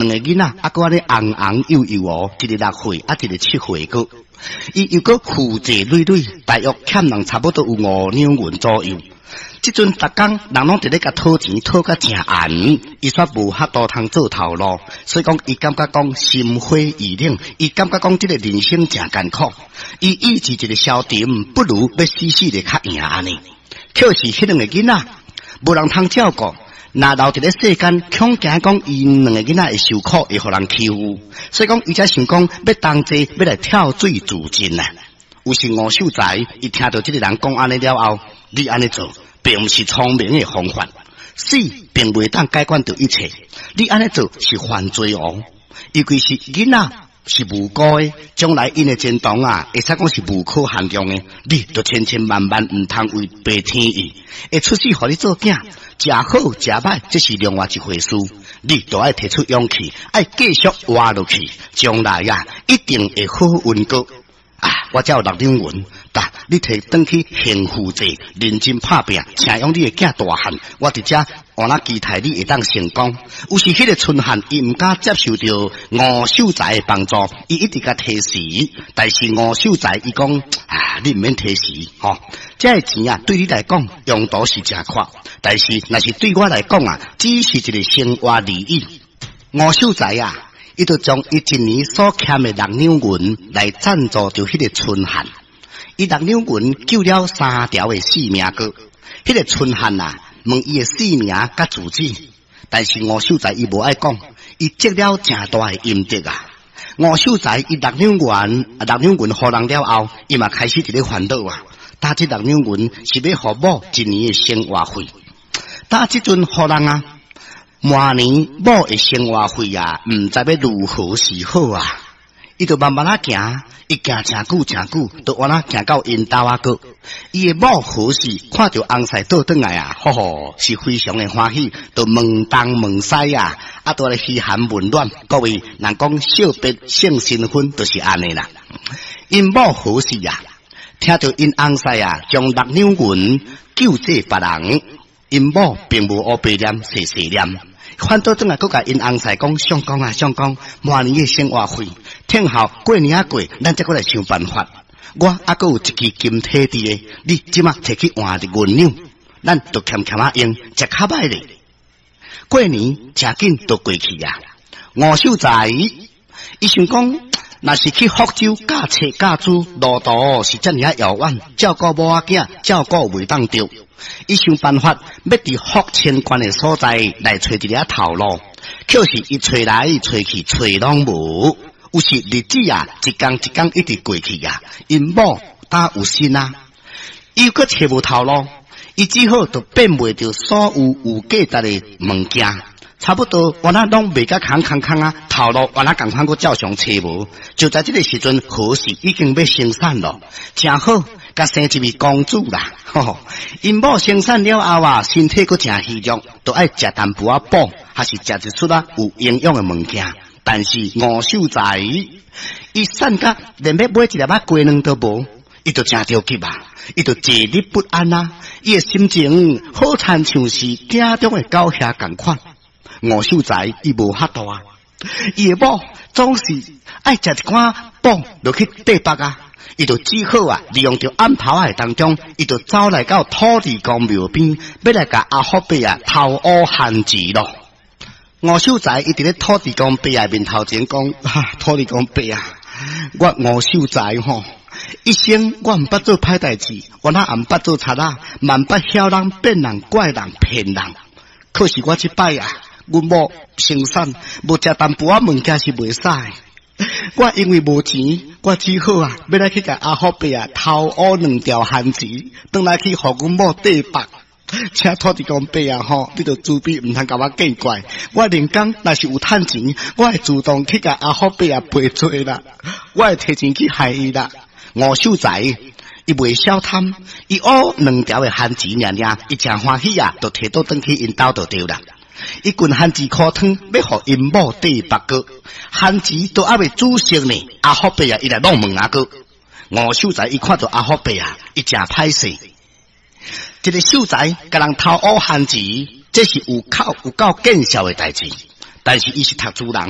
兩个囡仔，猶閣按呢紅紅幼幼哦，一个6歲，啊一个7歲閣。伊又閣負債累累，大約欠人差不多有5兩銀左右。這陣逐工人攏佇咧共討錢，討甲誠絚，伊煞無法度通做頭路，所以講伊感覺講心灰意冷，伊感覺講這个人生誠艱苦。伊意志一个消沉，不如欲死死咧較贏按呢。可是彼兩个囡仔無人通照顧。若留佇咧世間，恐驚講𪜶兩个囡仔會受苦，會予人欺負，所以講伊才想講欲同齊欲來跳水自盡啊！有時吳秀才伊聽著這个人講按呢了後，你按呢做，並毋是聰明的方法，死並袂當解決著一切，你按呢做是犯罪哦，尤其是囡仔是無辜的，將來𪜶的前途啊，會使講是無可限量的，你就千千萬萬毋通違背天意，會出世予你做囝。食好食歹，這是另外一回事。你都愛提出勇氣，愛繼續活落去，將來啊，一定會好運過。啊，我遮有6兩銀，噠，你提轉去還負債，認真拍拚，請養你的囝大漢。我佇遮按怎期待你會當成功。有時彼个春漢，伊毋敢接受著吳秀才的幫助，伊一直共提示。但是吳秀才伊講啊，你毋免提示，吼，這个錢啊，對你來講用途是誠闊，但是若是對我來講啊，只是一个生活而已。吳秀才啊，伊就將伊一年所欠的6兩銀來贊助著彼个春漢。伊六兩銀救了三條的性命閣。彼个春漢啊，問伊的姓名佮住址，但是吳秀才伊無愛講，伊積了誠大的陰德啊。吳秀才伊六兩銀，六兩銀予人了後，伊嘛開始佇咧煩惱啊。擔這六兩銀是欲予某一年的生活費，擔這陣予人啊。明年某的生活費啊，毋知欲如何是好啊！伊就慢慢仔行，伊行誠久誠久，就按怎行到𪜶兜仔閣。伊的某何氏看著翁婿倒轉來啊，吼吼，是非常的歡喜，就問東問西啊，啊，都來噓寒問暖。各位，人講惜別勝新婚，就是按呢啦。𪜶某何氏啊，聽著𪜶翁婿啊，將六兩銀救濟別人，𪜶某並無烏白念，細細念。反倒轉來，閣共𪜶翁婿講，相公啊，相公，明年的生活費，聽候過年仔過，咱才閣來想辦法。我猶閣有一支金體佇咧，你這馬提去換銀兩，咱就儉儉仔用，食較歹咧。過年誠緊就過去啊！吳秀才伊想講，若是去福州教冊教書，路途是遮爾仔遙遠，照顧某仔囝，照顧袂當著。伊想辦法欲佇福清縣的所在來揣一个頭路，可是伊揣來揣去揣攏無，有時日子啊，一工一工一直過去啊，𪜶某敢有心啊？伊閣揣無頭路，伊只好就變賣著所有有價值的物件，差不多原來攏賣甲空空空啊，頭路原來仝款閣照常揣無。就在這个時陣，何氏已經欲生產咯，誠好。共生一位公主啦，吼吼！𪜶某生產了後啊，身體閣誠虛弱，就愛食淡薄仔補，還是食一撮仔有營養的物件。但是吳秀才，伊瘦甲連欲買一粒仔雞卵都無，伊就誠著急啊，伊就坐立不安啊，伊的心情好親像是鼎中的狗蟻仝款。吳秀才伊無法度啊，伊的某總是愛食一寡補落去綴腹啊。伊就只好啊，利用著暗頭仔當中，伊就走來到土地公廟邊，欲來共阿福伯啊偷挖番薯咯。吳秀才伊佇咧土地公伯仔面頭前講：啊，土地公伯啊，我吳秀才吼，一生我毋捌做歹代誌，我哪毋捌做賊仔，嘛毋捌曉人變人怪人騙人。可是我這擺啊，阮某生產無食淡薄仔物件是袂使。我因為無錢，我只好啊，欲來去共阿福伯啊偷挖兩條番薯，轉來去予阮某綴腹。請土地公伯啊吼，你著慈悲，毋通共我見怪。我連工若是有趁錢，我會主動去共阿福伯啊賠罪啦，我會提錢去害伊啦。吳秀才伊袂曉貪，伊挖兩條的番薯爾爾，伊誠歡喜啊，就提倒轉去𪜶兜就對啦。伊滾番薯箍湯，欲予𪜶某綴腹閣，番薯都猶未煮熟呢。阿福伯啊，伊來弄門仔閣。吳秀才伊看著阿福伯啊，伊誠歹勢。一個秀才共人偷挖番薯，這是有口有夠見笑的代誌。但但是伊是讀書人。